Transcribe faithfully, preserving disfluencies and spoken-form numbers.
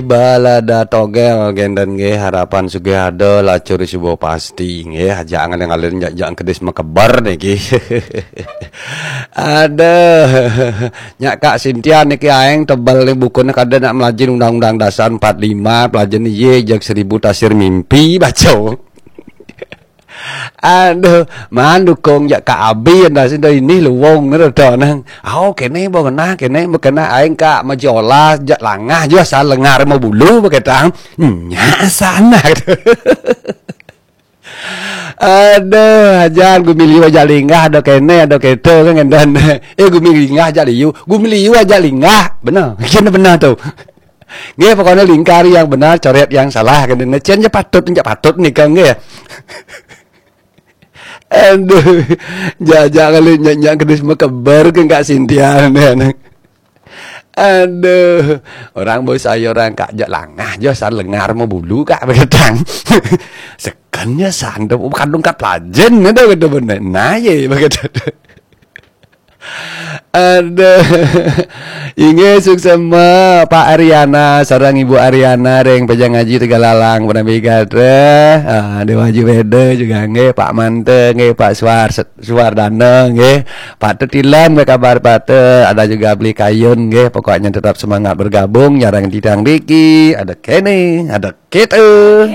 Balada togel genden nggih, harapan sugih ada, lacur suba pasti nggih, aja ngalih-ngalih jak-jak kedis makeber niki. Aduh, nyak Kak Sintia niki aeng tebel ni bukune kada nak melajin Undang-Undang Dasar empat lima, pelajin iye jeg seribu tasir mimpi baca. Aduh, man dukung jak Kak Abi enda sida ini luwung ni rada nang. Au kene ba kena, kene ba kena aing Kak majola jak langah jua sal lengar mau bulu ba ketang. Nya sana. Aduh, ajan gumili aja linggah ada kene ada keto kan ngendan. Eh gumili linggah aja liu, gumili aja linggah. Benar. Kena benar tu. Nggih, pokoknya lingkari yang benar, coret yang salah kan. Cen je patut, je patut nika nggih. Aduh, jajak kali nyak-nyak kedis makeber ke Kak Sintia ni. Aduh, orang bos saya orang Kak jak langah je san lengar mau bulu Kak begetang. Sekannya sandup kadung kat lajen ada kata benar. Nah, ye begitu. Aduh. Inggih suksema Pak Ariana sareng Ibu Ariana ring Pejang Aji Tegalalang penampi gatra. Ah, Dewa Haji Weda juga nggih, Pak Mante nggih, Pak Suar Suardana nggih. Pak Tetilam nggih kabar Pak Te, ada juga Beli Kayun nggih. Pokoknya tetap semangat bergabung, jarang titang diki, ada kene, ada kita.